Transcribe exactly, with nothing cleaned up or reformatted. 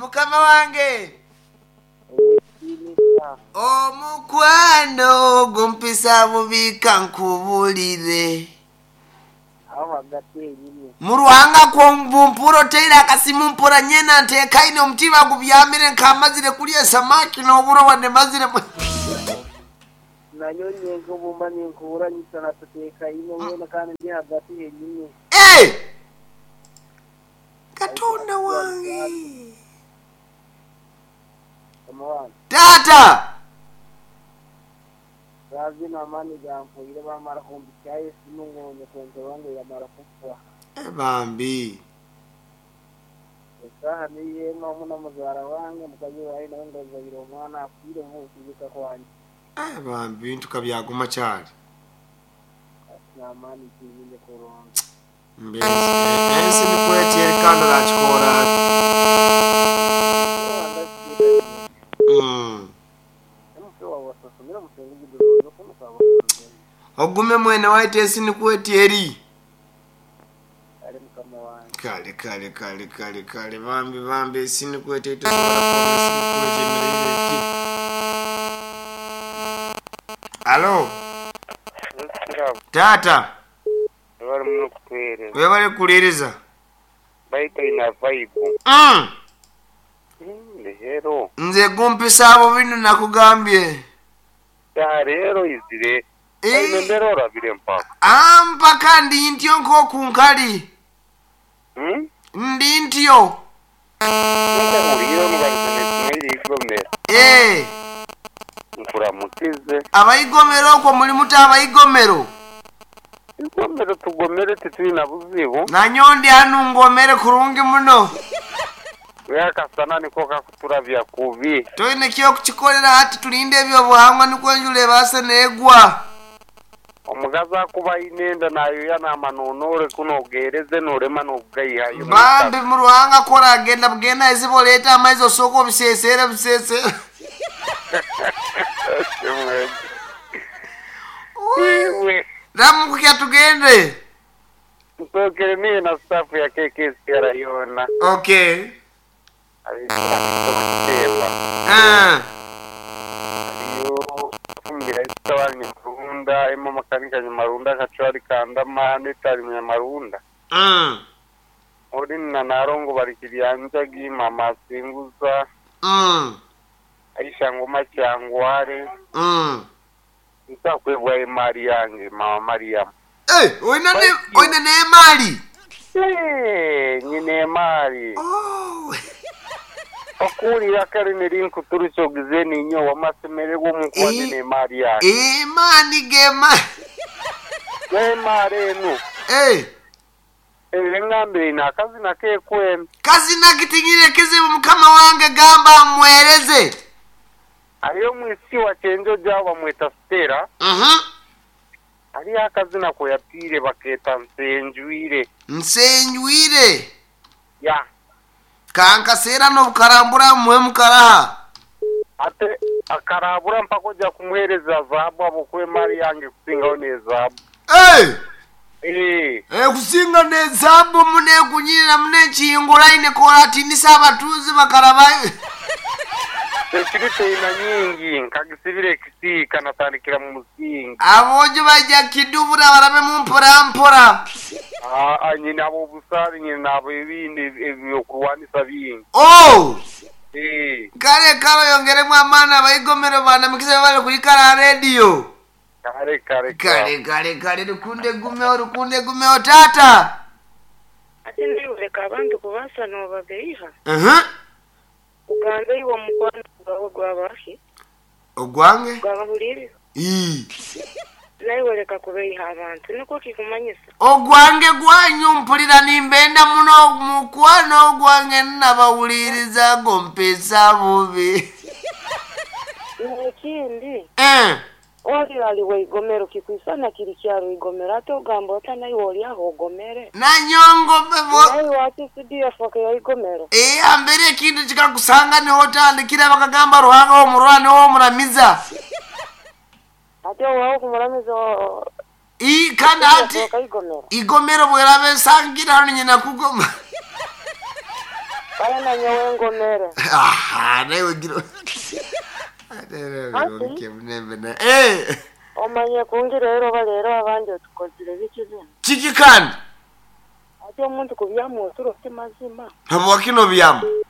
Mukama wange. Omukwano gumpisa bubi kankubulire. Aho hagati yenyine. Mu ruhanga kwombumpura oteire akasimu mpura nyena ntekaine omutima gubyamire nkamazire kulya samaki n'oburo wadde mazire mu- Nanyo nyenka obumba ninkuburanyisa natutekaine mwena kandi ndi hagati yenyine. Eh! Katonda wange. Mukama wange. Taata! Razi n'amaani gampwire bamara kumbikyayo esimu ngonye kwongerwa ngu yamara kufa. Eh, bambi. Esaaha niyo emwe omu na muzaara wange mukazi wawe nawe ndazaire omwana afiire mu kuzika kwange. Eh, bambi bintu kabyaguma kyali. N'amaani tinyine kurungi. Mbese ensi nikwetera kandi orakikora. Mm. Ogume mwene waitu ensi nikweteri. Ari mukama wange. Kale kale kale kale kale bambi bambi ensi nikweteri tosobola kuba ensi nikwekyemereire eti. Alo, taata, bari muno kutwereza webale kukuliriza. baita ina vibe Mm. rero Nze gumpisa abo bino nakugambye. ya rero izire Eh. ine mbere orabire mpaka Ah, mpaka ndi ntyo nk'okunkali. Hmm? Ndi ntyo. Ndahurire nubarize nesimwe igomera Eh, nkuramutize abayigomero okwo muli muta abayigomero. igomero tugomere titwina buzibu Nanyo ndi hanu ngomere kurungi muno. wekasana niko kakuturabya kubi Toine kyokukikolera hati tulinde ebyobuhangwa nikwo enjura ebaase neegwa. omugazi akuba aine enda nayoya namanonore kunogereze norema nokugaihayo Bambi mu ruhanga kora agenda bugenda eziba oleeta amaizi osooka obiseeseera biseeseera. Ramukukya tugende. nsokere niye na staff ya K K C R yona. Okay. Abikutemba. Ah. Ariyo fumbira isitawani nyamarunda emo makanika nyamarunda kachwari kandama netari nyamarunda. Mm. Ori na narongo bari kiryanjagi mama singuza. Mm. Aisha ngoma cyangware. Mm. Nsakwebwa imari yange mama Mariam. Eh, oina ne oina n'emaali. Eh, nyine imari. Oh. Okurira kare neri nkuturutse ogize ninyo wamasemererwa omukwate Eh. n'emari yange. Emaani gema. N'emari enu. Eh. Engambire ina akazina kekwenu. Kazina kitinyire kizibu mukama wange gamba mwereze. Ariyo mwisi wa chenjo jabo bamweta Stella. Mhm. Hariyo akazina ko yatire baketa Nsenjwire. Nsenjwire. Ya. Kankaseera n'obukarambura mwe mukaraha. Ate akarabura mpaka ojja kumuhereza zaabu abo kwemari yange kusingaho n'ezaabu. Eh! Eh, Ekusinga n'ezaabu munekunyirira munekiyingulaine koratinisa abatuuzi bakaraba. Security ina nyingi nkagisibire ekisiika natandikira mu musingi. Aboojo bajja kidubura barabe mu mpora mpora. Ah, ah, nyina abo obusaale nyina abo ebindi ebyokurwanisa bingi. Oh! Eh, Kale kale oyongeremu amaani abayigomero banamikisa bali kuyikala rediyo. Kale kale. Kale kale kale lukunde gumewo lukunde gumewo taata. Ate ndiwuleka abantu kubasa nobabeiha. Uh-huh. Ugambe iwe omukwano gwawe gwabaki Ogwange? gwabahuliriza. Ii. Naiweleka kubeiha abantu nikwo kikumanyisa. Ogwange gwanyu mpulira nimbenda muno mukwano ogwange nabawuliriza gompesa bubi. Nekindi Eh. oli aliwe igomero kikwisana kiri kyaro igomero ate ogamba ota naiwe oli aho ogomere. Nanyongo bo Naiwe ati C D F ya igomero. Eh, ambere ekintu kikakusanga niho otandikira bakagamba Ruhanga w'omurwana w'omuramiza. Ate owaho kumuramiza. Ii kandi ati igomero. Igomero bweraba esangira hano nyina kugoma. Baya na nyowe ngomere. Aha, nawe gira Eh, Omanye kungi rero balero abandi otukozire biki bino. kiki kandi Ate omuntu kubyamu oturo ti mazima. habwakino byamu.